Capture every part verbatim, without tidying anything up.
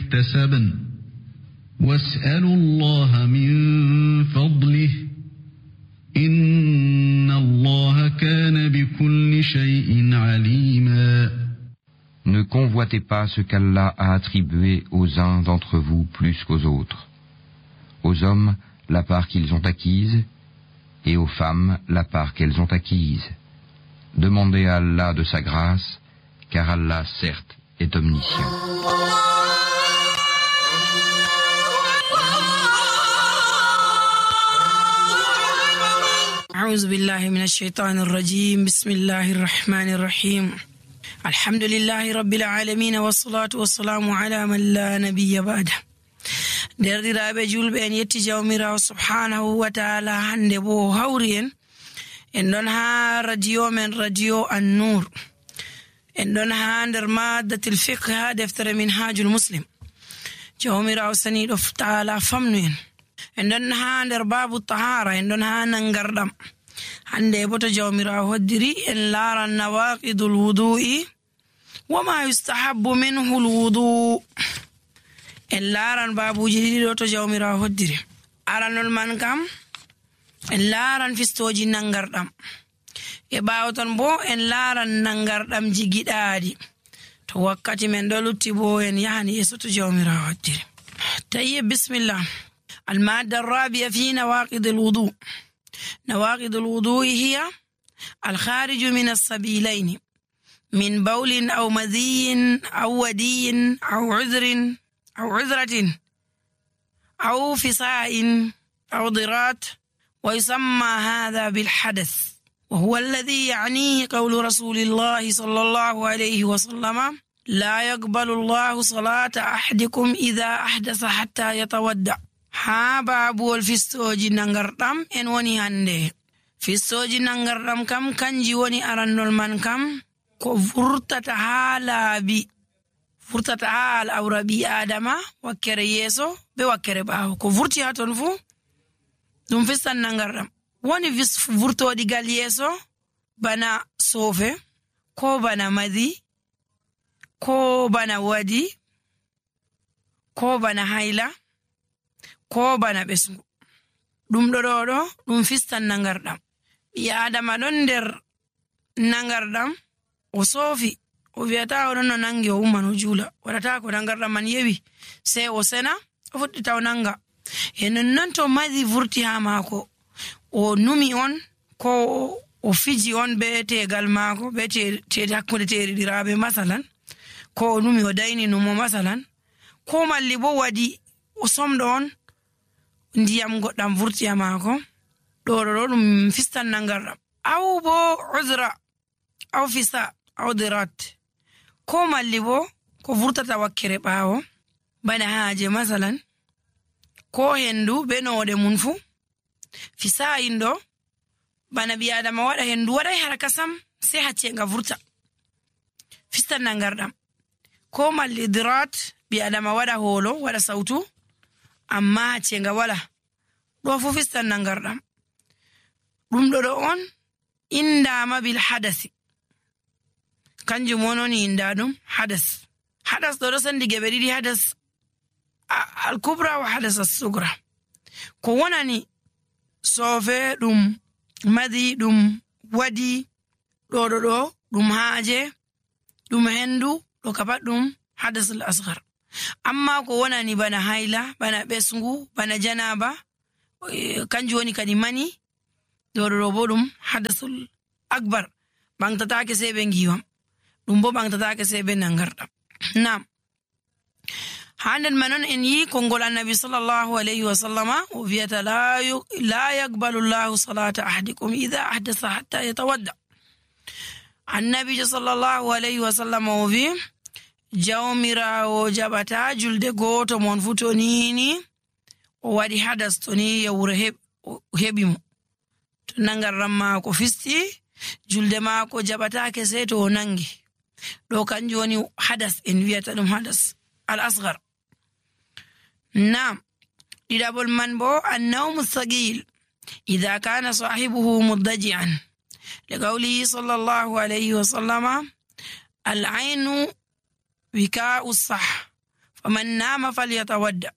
اكتسبن واسألوا الله من فضله إن الله كان بكل شيء عليما. Ne convoitez pas ce qu'Allah a attribué aux uns d'entre vous plus qu'aux autres. Aux hommes, la part qu'ils ont acquise, et aux femmes, la part qu'elles ont acquise. Demandez à Allah de sa grâce, car Allah, certes, est omniscient. أعوذ بالله من الشيطان الرجيم بسم الله الرحمن الرحيم الحمد لله رب العالمين والصلاة والسلام على من لا نبي بعده derdiraaɓe julɓe en yetti jawmirawo subhanahu wa taala hande bo hawri en en ɗon ha radio men radio an-nur en ɗon ha nder maddatil fiqh ha deftere min hajul muslim jawmirawo saniɗo taala famnu en en ɗon ha nder babu tahara en ɗon ha nangarɗam hande bo to jawmirawo hoddiri en laaran nawaqidul wudu'i wa ma yustahabbu minhu al-wudu en laaran babuji ɗiɗi ɗo to jawmirawo hoddiri aranol man kam en laaran fistoji nangarɗam e ɓawo ton bo en laaran nangarɗam jigiɗaaɗi to wakkati men ɗo lutti bo en yahani yeso to jawmirawo hoddiri tayyib bismillah المادة الرابعة في نواقض الوضوء نواقض الوضوء هي الخارج من السبيلين من بول أو مذي أو ودي أو عذر أو عذرة أو فساء أو ضرات ويسمى هذا بالحدث وهو الذي يعنيه قول رسول الله صلى الله عليه وسلم لا يقبل الله صلاة أحدكم إذا أحدث حتى يتودع ha babuwol fistoji nangarɗam en woni hande fistoji nangarɗam kam kanji woni arannol man kam ko vurtata ha laabi vurtata ha al'aura ɓi adama wakkere yeeso be wakkere ɓaawo ko vurti ha ton fu ɗum fistan nangarɗam woni vurtoɗigal yeeso bana soofe ko bana madi ko bana wadi ko bana hayla ko bana ɓesngu ɗum ɗo ɗo ɗo ɗum fistan nangarɗam ɓi adama ɗon nder nangarɗam o soofi o wiyata oɗon no nangi o umman o juula waɗata ko nangarɗam man yewi sei o sena o fuɗɗita o nanga e nonnon to madi vurti ha maako o numi on ko o fiji on be tegal maako be te hakkunde teriɗiraɓe masalan ko o numi o dayni numo masalan ko malli bo waɗi o somɗo on ndiyam goɗɗam vurti ha maako ɗo ɗo ɗo ɗum fistan nangarɗam aw bo uzra aw fisa aw dirat ko malli bo ko vurtata wakkere ɓaawo bana haaje masalan ko hendu be noɗe mun fu fisayin ɗo bana ɓi adama waɗa hendu waɗay haraka sam sei haccenga vurta fistan nangarɗam ko malli dirat ɓi adama waɗa holo waɗa sautu amma haccenga wala ɗo fu fistan nangarɗam ɗum ɗo ɗo on indama bil hadasi kanjum wononi inda ɗum hadas hadas ɗo ɗo sandi geɓe ɗiɗi hadas al kubra wa hadas as-sugra ko wonani soofe ɗum madi ɗum wadi ɗo ɗo ɗo ɗum haaje ɗum hendu ɗo kapat ɗum hadas al asghar amma ko wonani bana hayla bana ɓesngu bana janaba kanjum woni kadi mani ɗo ɗo bo ɗum hadasul akbar ɓangtatake sei ɓe ngiwam ɗum bo ɓangtatake sei ɓe nangarɗam nam ha nden manon en yi konngol annabi sallallahu alayhi wa sallama o wiyata la yaqbalu llahu salata ahadikum ida ahdasa hatta yatawadda annabijo sallallahu alayhi wa sallama o wi jawmirawo jaɓata julde goto mon fu to nini o waɗi hadas to ni yawre heɓi mo to nangarɗam maako fisti julde maako jaɓatake sei to o nangi ɗo kanjum woni hadas en wiyata ɗum hadas al asghar nam ɗiɗaɓol man bo annawmu thaqil idha kana sahibuhu muddaji'an liqawlihi sallallahu alayhi wa sallama al aynu wika'u sah faman nama falyatawadda.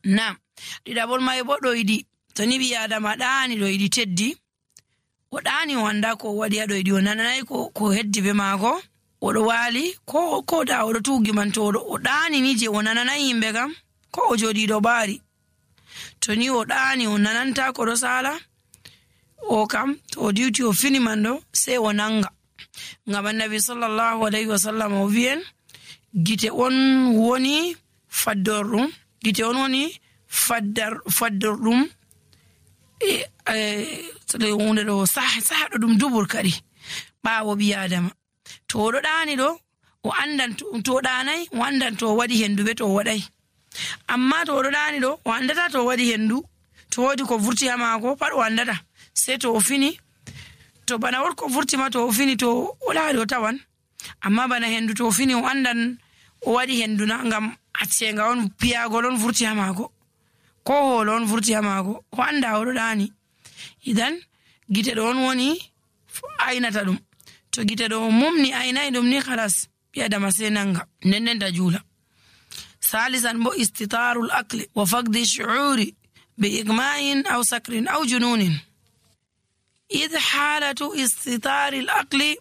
Nam ɗiɗaɓol may bo ɗo yiɗi to ni ɓi adama ɗaani ɗo yiɗi teddi o ɗaani o anda ko waɗi ha ɗo yiɗi o nananayi ko ko heddi be maako oɗo waali ko ko da oɗo tuugi man to o ɗaani ni je o nananayi yimɓe kam ko o joɗi ɗo ɓaari to ni o ɗaani o nananta ko ɗo sala o kam to o diwti o fini man ɗo sai o nanga ngam annabi sallallahu alayhi wa sallam o wi'en gite on woni faddorɗum gite on woni faddar faddorɗum e hunde ɗo sahaɗo ɗum dubur kadi ɓaawo ɓi adama to oɗo ɗaani ɗo o andan to o ɗanayi o andan to o waɗi hendu ɓe to o waɗayi amma to oɗo ɗaani ɗo o andata to o waɗi hendu to wodi ko vurti ha maako pat o andata sei to o fini to bana wot ko vurti ma to o fini to o laaɗi o tawan amma bana hendu to o fini o andan o waɗi hendu na ngam accenga on piyagol on vurti ha maako ko hoolo on vurti ha maako o anda oɗo ɗaani idan gite ɗo on woni aynata ɗum to gite ɗo mumni aynayi ɗum ni halas ɓi adama sei nanga nden nden ta juula. Salisan bo istitarul akli wa faqdi shu'uri bi igma'in aw sakrin aw jununin. إذ حالة استطار العقل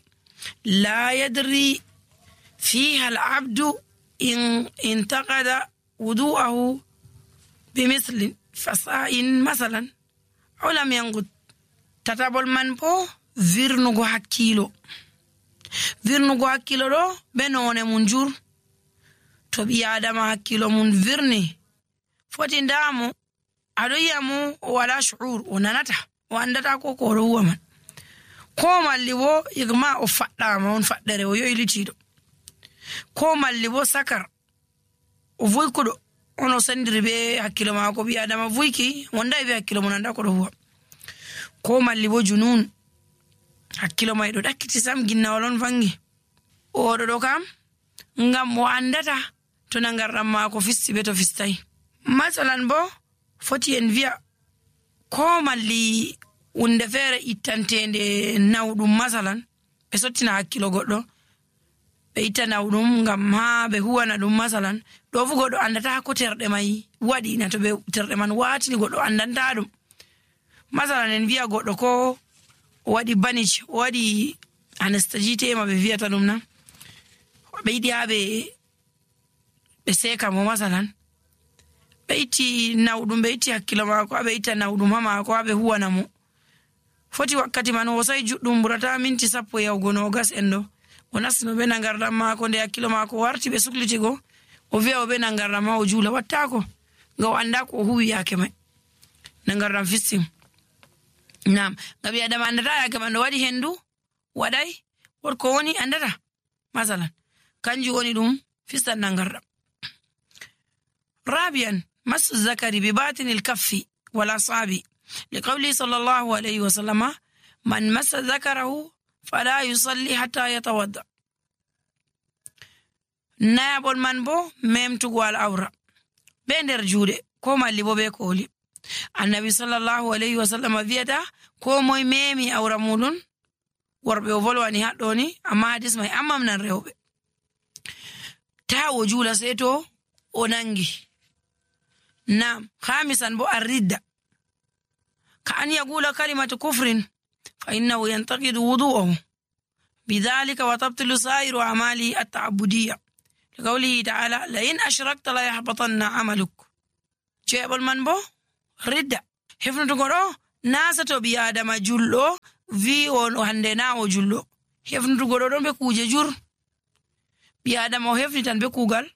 لا يدري فيها العبد إن انتقد وضوءه بمثل فساء مثلا أو لم ينقض تتابل من بو فيرنغو حكيلو فيرنغو حكيلو رو بنون منجور تبي آدم حكيلو من فيرني فتن دامو أدويامو ولا شعور وننته o andata ko ko ɗo huwa man ko malli bo igma o faɗɗama on faɗɗere o yoylitiɗo ko malli bo sakar o voykuɗo on o sandiri be hakkilo maako ɓi adama voyki wondayi be hakkilo mo nanda ko ɗo huwa ko malli bo junun hakkilo may ɗo ɗakkiti sam ginnawol on vangi oɗo ɗo kam ngam o andata to nangarɗam maako fisti be to fistayi masalan bo foti en wi'a ko malli wunde feere ittantende nawɗum masalan ɓe sottina hakkilo goɗɗo ɓe itta nawɗum ngam ha ɓe huwana ɗum masalan ɗo fu goɗɗo andata ko terɗe may waɗina to ɓe terɗe man watini goɗɗo andanta ɗum masalan en wi'a goɗɗo ko o waɗi banich o waɗi anestagitema ɓe wiyata ɗum na ɓe yiɗi ha ɓe ɓe seka mo masalan ɓe itti nawɗum ɓe itti hakkilo maako ha ɓe itta nawɗum ha maako ha ɓe huwana mo foti wakkati man o sai juɗɗum ɓurata minti sappo yahugo nogas en ɗo o nastino ɓe nangarɗam maako nde hakkilo maako warti ɓe suklitigo o wi'a o ɓe nangarɗam ma o juula wattako nga o anda ko o huwi yake may nangarɗam fistim nam nga ɓi adama andata yake man ɗo waɗi hendu waɗay wotko woni andata masalan kanjum woni ɗum fistan nangarɗam. rabian masu zakari bi batinil kaffi wala sabi لقوله صلى الله عليه وسلم من مس ذكره فلا يصلي حتى يتوضأ. نابل من بو ميمتو الأورا بندر جودة كوما اللي بو بيكولي النبي صلى الله عليه وسلم فيدا كوما ميمي أورا مولون وربي وفلواني هاتوني أما حديث ما أما من الرهوب تا وجولا سيتو وننجي. نعم. خامسا بو الردة كأن يقول كلمة كفر فإنه ينتقد وضوءه بذلك وتبطل سائر أعماله التعبدية لقوله تعالى لئن أشركت لا يحبطن عملك. جاب المنبو ردة حفن تقولوا ناسة بيادم جلو في وهندنا وجلو حفن تقولوا دون بكوجة جر بيادم وحفن تن بكوغل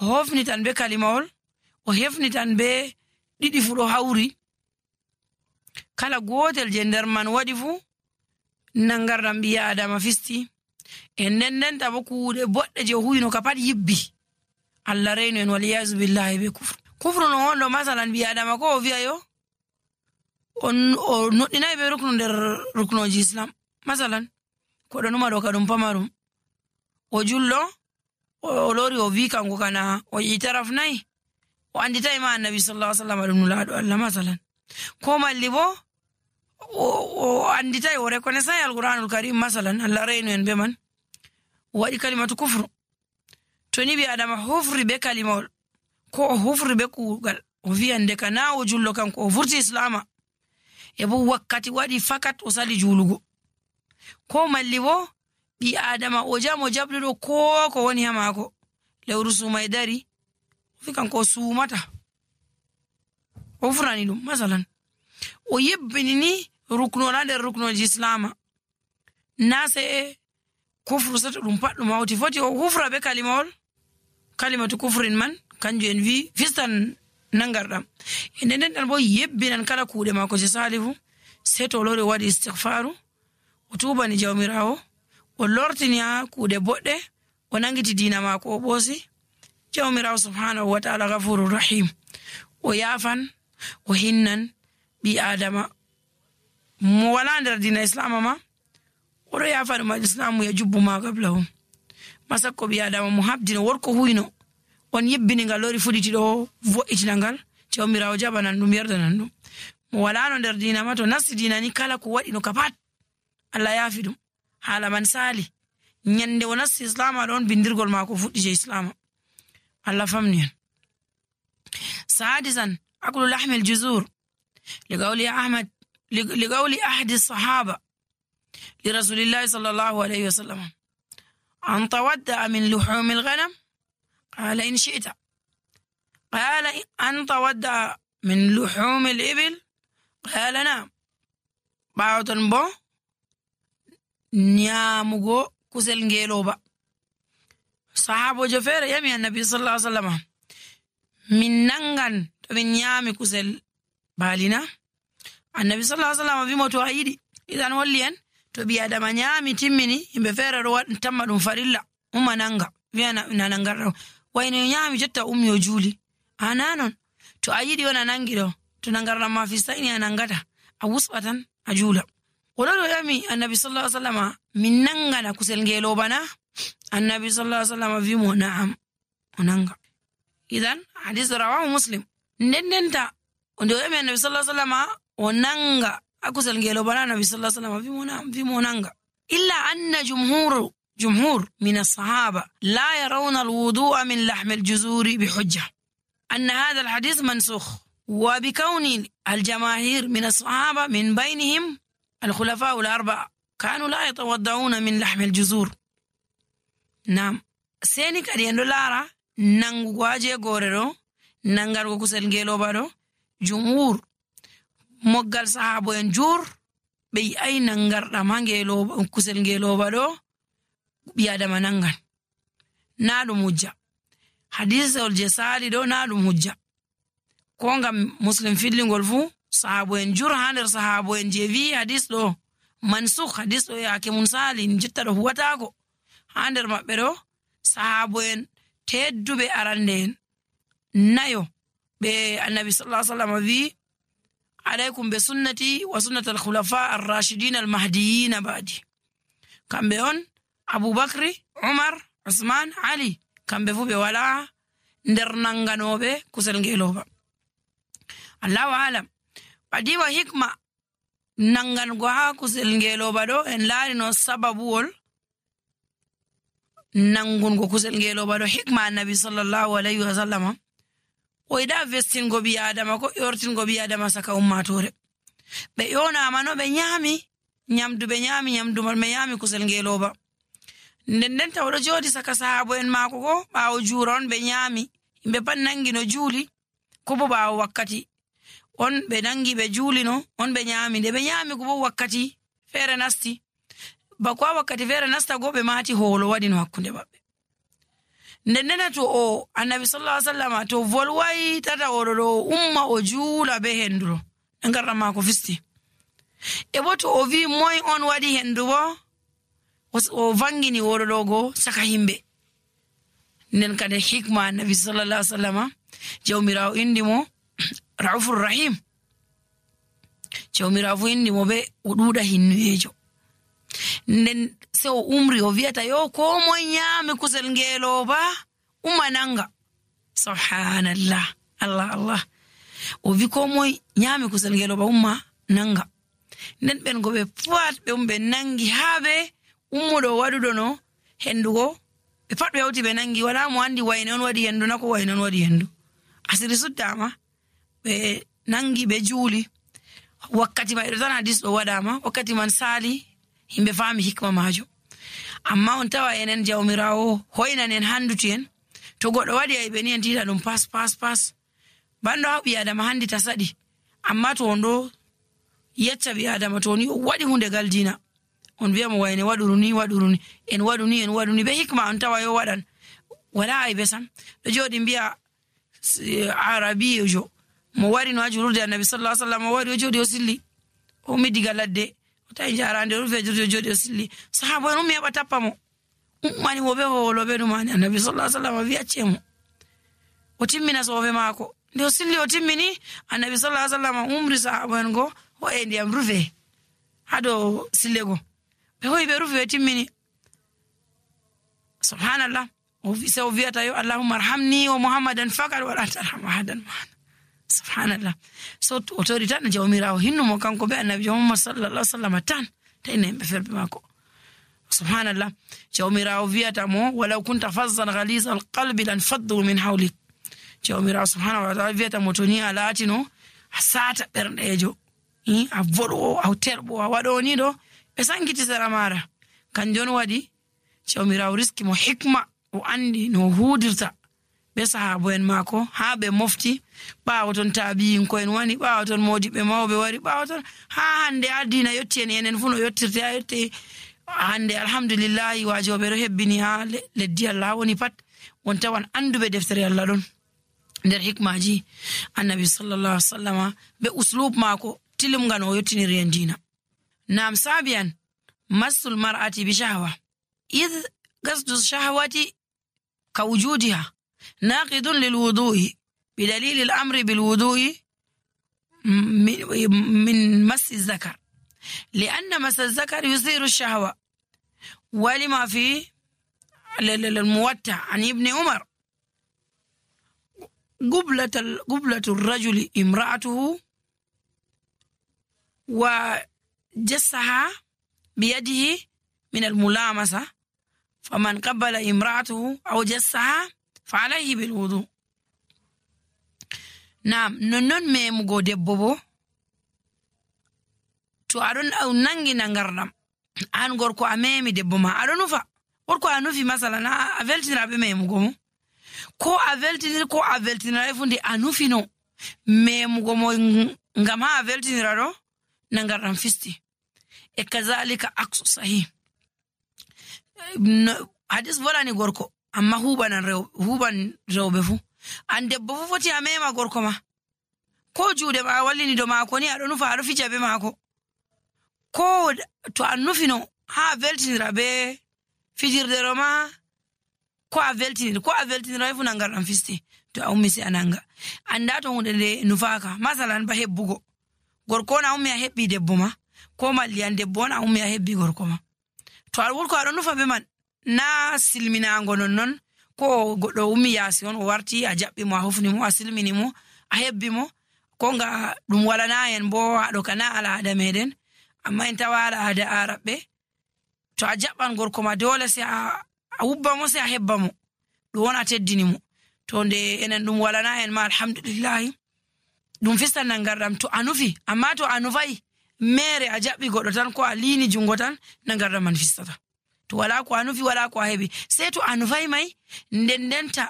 وحفن تن بكلمول وحفن تن بدي فرو هاوري kala gotel je nder man waɗi fu nangarɗam ɓi adama fisti e nden nden tabo kuuɗe boɗɗe je huyino ka pat yibbi allah reyno en waliyasu billahi be kufru kufru no wonɗo masalan ɓi adama ko o wi'a yo o noɗɗinayi ɓe ruknu nder ruknoji islam masalan koɗo numa ɗo ka ɗum pamarum o jullo o lori o wi kanko kana o yitaraf nayi o anditayi ma annabi sallallahu alaihi wasallam ɗum nulaɗo allah masalan ko malli bo o anditay o reconnaissant alquranul karim masalan allah reyno en be man o waɗi kalimatu kufru to ni ɓi adama hufri be kalimawol ko o hufri be kuugal o wiyande ka na o jullo kanko o vurti islama e bo wakkati waɗi fakat o sali julugo ko malli bo ɓi adama o jam o jaɓɗuɗo ko ko woni ha maako lewru suumay dari o wi kanko o suumata o hufrani ɗum masalan o yebbini ni ruknol ha nder ruknoji islama na se kufru sato ɗum pat ɗum hawti foti o hufra be kalimawol kalimatu kufrin man kanjum en wi fistan nangarɗam e nden nden ɗan bo yebbinan kala kuuɗe maako je sali fu sei to o lori o waɗi istighfaru o tubani jawmirawo o lortini ha kuuɗe boɗɗe o nangiti dina maako o ɓoosi jawmirawo subhanahu wa ta'ala gafuru rahim o yafan o hinnan ɓi adama mo wala nder dina islama ma oɗo yafa ɗum al islamu ya jubbu ma gablahum masakko ɓi adama mo habdino worko huyno on yebbini ngal lori fuɗiti ɗo vo'itina ngal jawmirawo jaɓanan ɗum yerdanan ɗum mo walano nder dina ma to nasti dina ni kala ko waɗi no ka pat Allah yaafi ɗum haala man sali nyande o nasti islama ɗon bindirgol maako fuɗɗi je islama Allah famni en sadisan aklu lahmi al-juzur liqawli ahmad liqawli ahadi sahaba لرسول الله صلى الله عليه وسلم أن تودع من لحوم الغنم قال إن شئت قال أن تودع من لحوم الإبل قال نعم باوتن بو نيامغو كسل نجيلوبا صحابو جفير يمي النبي صلى الله عليه وسلم من ننغن من نيامي كسل بالنا النبي صلى الله عليه وسلم في موتو عيدي إذن وليان to ɓi adama nyaami timmini yimɓe feere ɗo waɗ tamma ɗum farilla umma nanga wiya na nangarɗo wayno nyaami jotta ummi o juuli ana non to a yiɗi on a nangi ɗo to nangarɗam ma fistayni a nangata a wusɓa tan a juula oɗo ɗo yami annabi sallallahu alaihi wasallam min nangana kusel ngeloba na annabi sallallahu alaihi wasallam wimo na'am o nanga idan hadis rawahu muslim nden ndenta nde o yami annabi sallallahu alaihi wasallam o nanga akusel ngeloba na annabi sallallahu alaihi wasallam wimo na'am wimo nanga illa anna jumhur جمهور من الصحابة لا يرون الوضوء من لحم الجزور بحجة أن هذا الحديث منسوخ وبكون الجماهير من الصحابة من بينهم الخلفاء الأربعة كانوا لا يتوضعون من لحم الجزور نعم سيني كريان دولارا نانغو واجه غوريرو نانغارغو كسل نجيلو بارو جمهور مغال صحابو ينجور بي أي نانغار رمانجيلو كسل نجيلو بارو بيادما نانغان نالو مجا حديث الجسالي دو نالو مجا كونغا مسلم فيدلين غولفو صحابو ينجور هاندر صحابو ينجيفي حديث دو منسوخ حديث دو ياكي منسالي نجتا دو هواتاكو هاندر مبرو صحابو ين تيدو بي أراندين نايو بي النبي صلى الله عليه وسلم في عليكم بسنتي وسنة الخلفاء الراشدين المهديين بعدي كان بيون أبو بكر عمر عثمان علي كان بفو بولا ندر نانغانوبه كسلنجيلوبا الله أعلم بعدي وحكمة نانغانغوها كسلنجيلوبا دو إن لاري نو سببول نانغونغو كسلنجيلوبا دو حكمة النبي صلى الله عليه وسلم وإذا فستنغو بي آدم كو يورتنغو بي آدم سكا أماتوري بيونا منو بنيامي nyamdu be nyami nyamdu mal me yami kusel ngeloba nden nden tawdo jodi saka sahabo en mako ko baawo juron be nyami imbe pan nangi no juli ko bo baawo wakkati on be nangi be juli no on be nyami de be nyami ko bo wakkati fere nasti ba ko wakkati fere nasta go be mati holo wadi no hakkunde babbe nden nden to o annabi sallallahu alaihi wasallam to volwai tata o do umma o jula be henduro ngarra mako fisti e boto o vi moy on wadi hendu bo o vangini worodogo saka himbe nen kada hikma nabi sallallahu alaihi wasallam jawmirawo indi mo raufur rahim jawmirawo indi mo be o duda hinnuejo nen se o umri o viata yo ko moy nyame kusel ngelo ba umananga subhanallah allah allah o vi ko moy nyame kusel ngelo ba umma nanga nden ben go be puat be umbe nangi habe ummudo wadudo no hendugo ɓe pat ɓe hawti ɓe nangi wala mo andi wayne on waɗi hendu na ko wayne on waɗi hendu asiri suddama ɓe nangi ɓe juuli wakkati mai ɗo tan hadis ɗo waɗama wakkati man sali himɓe faami hikma majum amma on tawa enen jawmirawo hoynan en handuti en to goɗɗo waɗi ay ɓe ni en tiiɗa ɗum pas pas pas banɗo ha ɓi adama handi ta saɗi amma to on ɗo yecca ɓi adama to ni o waɗi hunde galdina on wiya mo wayne waɗuru ni waɗuru ni en waɗu ni en waɗu ni ɓe hikma on tawa yo waɗan wala ay ɓe sam ɗo jooɗi mbiya arabijo mo wari no ha julurde annabi sallallahu alaihi wasallam o wari o jooɗi o silli o ummi diga ladde o tawi jarande o rufe julurde o jooɗi o silli sahaba en ummi heɓa tappa mo ummani wo ɓe howoloɓe ɗumani annabi sallallahu alaihi wasallam wi acce mo o timmina sofe maako nde o silli o timmini annabi sallallahu alaihi wasallam umri sahaba en go o e ndiyam rufe ha dow sille go ɓe hoyi ɓe rufi ɓe timmini subhanallah se o wiyata yo allahumma arhamni wa muhammadan fakat wala tarham ahadan ma'ana subhanallah so o tori tan jawmirawo hinnumo kanko be annabi muhammad sallallahu alaihi wasallam tan tayne be ferbe mako subhanallah jawmirawo wiyata mo walaw kunta fazzan ghaliz alqalbi lan faddu min hawlik jawmirawo subhanahu wa ta'ala wiyata mo to ni alatino asata berdejo i a vodo a terbo a wado ni do be sankiti sara mara kanjon wadi jawmirawo riski mo hikma o andi no hudirta be sahabo en mako ha be mofti bawo ton tabiin ko en wani bawo ton modibe mawbe wari bawo ton ha hande adina yotti en enen fu no yottirte ayotte hande alhamdulillah wajobe ro hebbini ha leddi Allah woni pat won tawan andube deftere Allah don der hikmaji annabi sallallahu alaihi wasallam be uslub mako tilum ngano yottini rendina nam sabian masul mar'ati bi shahwa id qasdu shahwati كوجودها ناقض للوضوء بدليل الأمر بالوضوء من مس الذكر لأن مس الذكر يثير الشهوة ولما في الموتع عن ابن عمر قبلة قبلة الرجل امرأته وجسها بيده من الملامسة فمن قبل امرأته أو جسها فعليه بالوضوء نعم نونون ميمغو دبوبو تو أرون أو نانجي نانغرنام أن غوركو أميمي دبوما أرونو فا غوركو أنوفي مثلا أفلتين رابي ميمغو كو أفلتين كو أفلتين رابي فوندي أنوفي نو ميمغو مو ngam ha veltiniraro nangarɗam fisti e kazalika aksu sahih hadis volani gorko amma hubanan rew huban rewbe fu an debbo fu foti amema gorko ma ko juude ma wallini do mako ni ado nufa ado fija be mako ko to annufino ha veltinira be fijirde roma ko a veltinira ko a veltinira fu nangarɗam fisti to a ummi si ananga anda to hunde de nufaka masalan ba hebbugo gorko na ummi a hebbi debbo ma ko malli an debbo na ummi a hebbi gorko ma to al wurko aɗo nufa be man na silminango non non ko goɗɗo ummi yaasi on o warti a jaɓɓi mo a hofni mo a silmini mo a hebbi mo ko nga ɗum walana en bo aɗo kana al'ada meɗen amma en tawa al'ada araɓɓe to a jaɓɓan gorko ma dole se a wubba mo se a hebba mo ɗum wona teddini mo to nde enen ɗum walana en ma alhamdulillahi ɗum fistan nangarɗam to a nufi amma to a nufayi mere a jaɓɓi goɗɗo tan ko a liini jungo tan nangarɗam man fistata to wala ko a nufi wala ko a heɓi sei to a nufay may nden ndenta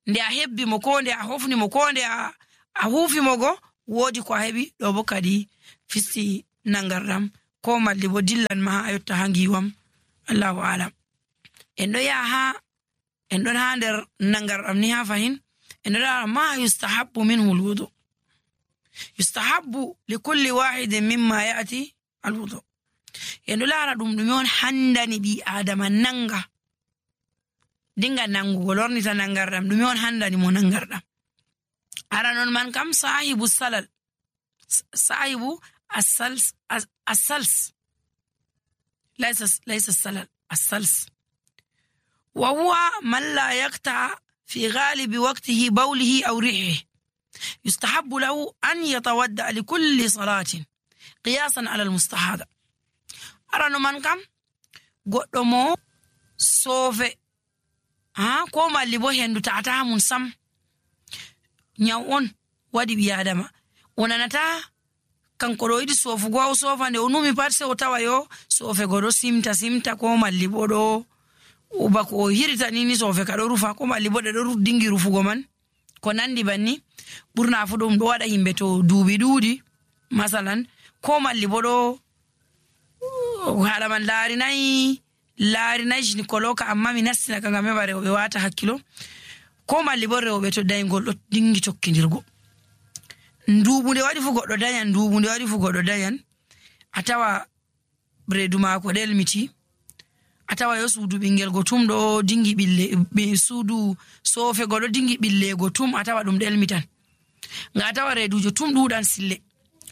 nde a hebbi mo ko nde a hofni mo ko nde a huufi mo go woodi ko a heɓi ɗo bo kadi fisti nangarɗam ko malli bo dillan ma ha a yotta ha ngiwam allahu alam en ɗo yaha ha en ɗon ha nder nangarɗam ni ha fahin en ɗo lara ma yustahabbu minhu lwudu yustahabbu likulli wahidin mimma ya'ti alwudu en ɗo lara ɗum ɗume on handani ɓi adama nanga dinga nangugo lornita nangarɗam ɗume on handani mo nangarɗam ara non man kam sahibu salal sahibu asals asals laysa laysa salal asals wa huwa man la yaqta fi ghalibi waqtihi bawlihi aw rihihi يستحب له أن يتودع لكل صلاة قياسا على المستحاضة أرانو من كم قدمو صوفي ha ko malli bo hendu ta'ata mun sam nyaw on wadi bi adama onanata kanko do yidi sofugo o sofa nde onumi pat se o tawa yo sofe godo simta simta ko malli bo do o bako hirita nini sofe ka do rufa ko malli bo do dingi rufugo man ko nandi banni burna fu dum do wada himbe to duubi duudi masalan ko malli bo do hala man laari nay laari nay ni koloka amma mi nasina kanga me bare be wata hakkilo ko malli bo rewbe to daygol do dingi tokkindirgo nduubunde wadi fu goddo dayan nduubunde wadi fu goddo dayan atawa bredu mako delmiti atawa yo suudu bingel gotum do dingi bille be suudu sofe goddo dingi bille gotum atawa dum delmitan nga atawa redujo tum dudan sille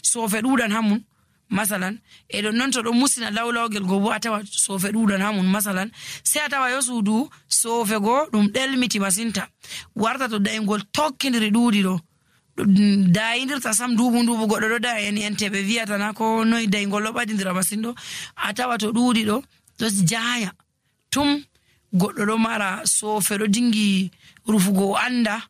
sofe dudan hamun masalan e don non to do musina lawlawgel go bo atawa sofe dudan hamun masalan se atawa yo suudu sofe go dum delmiti masinta warta to daygol tokkindiri duudi do dayindirta sam duubu ndubu goddo do da en entebe viata na ko noy daygol lo badindira masindo atawa to duudi do do jaaya tum goddo do mara sofe do dingi rufugo anda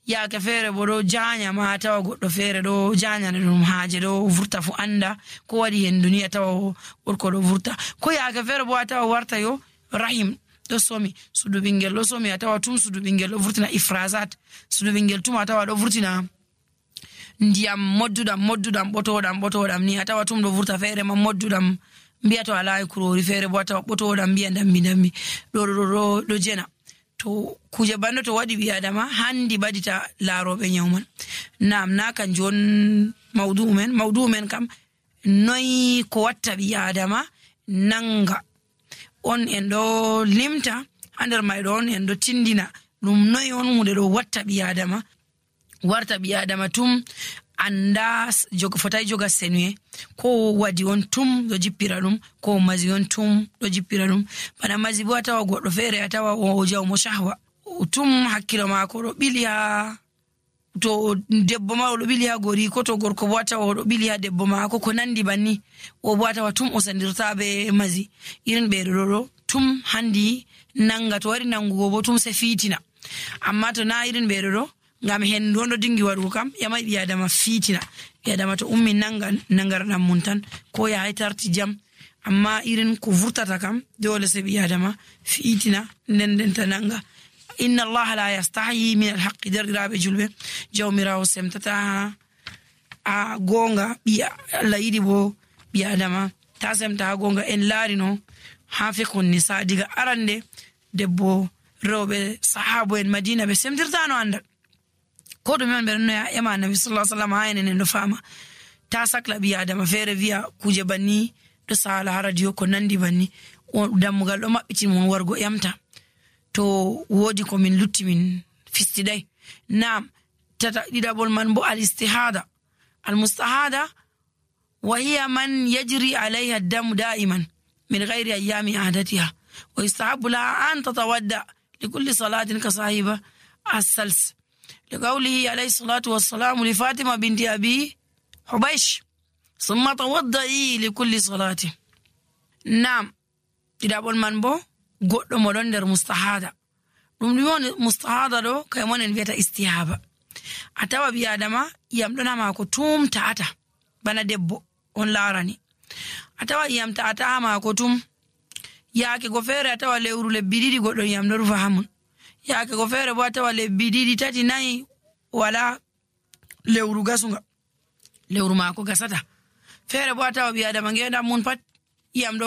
ya ka fere bodo jaanya ma tawa goddo fere do jaanya ne dum haaje do vurta fu anda ko wadi hen duniya tawa orko do vurta ko ya ka fere bo tawa warta yo rahim do somi sudu bingel do somi tawa tum sudu bingel do vurtina ifrazat sudu bingel tum tawa do vurtina ndiyam moddudam moddudam botodam botodam ni tawa tum do vurta fere ma moddudam biato ala kurori fere bo tawa botodam biya dambi dambi do do do jena to kuje bando to wadi bi adama handi badita larobe nyawman nam na kan jon mawdu men mawdu men kam noy ko watta bi adama nanga on en do limta ander may don en do tindina dum noy on hunde do watta bi adama warta bi adama tum anda jogo fotay joga senwe ko wadi on tum do jippira dum ko mazi on tum do jippira dum bana mazi bo tawa goddo fere atawa o jaw mo shahwa tum hakkilo mako do bili ha to debbo ma do bili ha gori ko to gorko bo tawa do bili ha debbo mako ko nandi banni o bo tawa tum o sandirta be mazi irin be do tum handi nanga to wari nangugo bo tum se fitina amma to na irin be do ngam hen dondo dingi waru kam yama bi adama fitina bi adama to ummi nanga nangar dam muntan ko ya haytarti jam amma irin ko vurtata kam dole se bi adama fitina nenden tananga inna allah la yastahi min alhaq darrabe julbe jawmira o semtata a gonga bi allah yidi bo bi adama ta semta gonga en larino hafiqun nisa diga arande debbo rewbe sahabo en madina be semtirtano anda ko dum men berno ya ema nabi sallallahu alaihi wasallam hayne no fama ta sakla bi adama fere via kuje banni do sala radio ko nandi banni o dammugal do mabbiti mon wargo yamta to wodi ko min lutti min fistidai nam tata didabol man bo al istihada al mustahada wa hiya man yajri alaiha ad-dam da'iman min ghairi ayami adatiha wa yustahabbu la an tatawadda likulli salatin ka sahiba as-sals لقوله عليه الصلاة والسلام لفاطمة بنت أبي حبيش ثم توضئي لكل صلاة نعم إذا أقول من بو قد مدندر مستحادة رمضان مستحادة لو كيمان البيت استيهابة أتوا بيادما يمدنا ما كتوم تاتا بنا دبو on larani atawa yam taata ma kotum yaake go fere atawa lewru le bididi goddo yam do fahamun yaake go fere bo atawa le bididi tati nay wala lewru gasunga lewru ma ko gasata fere bo atawa biya da mangenda mun pat yam do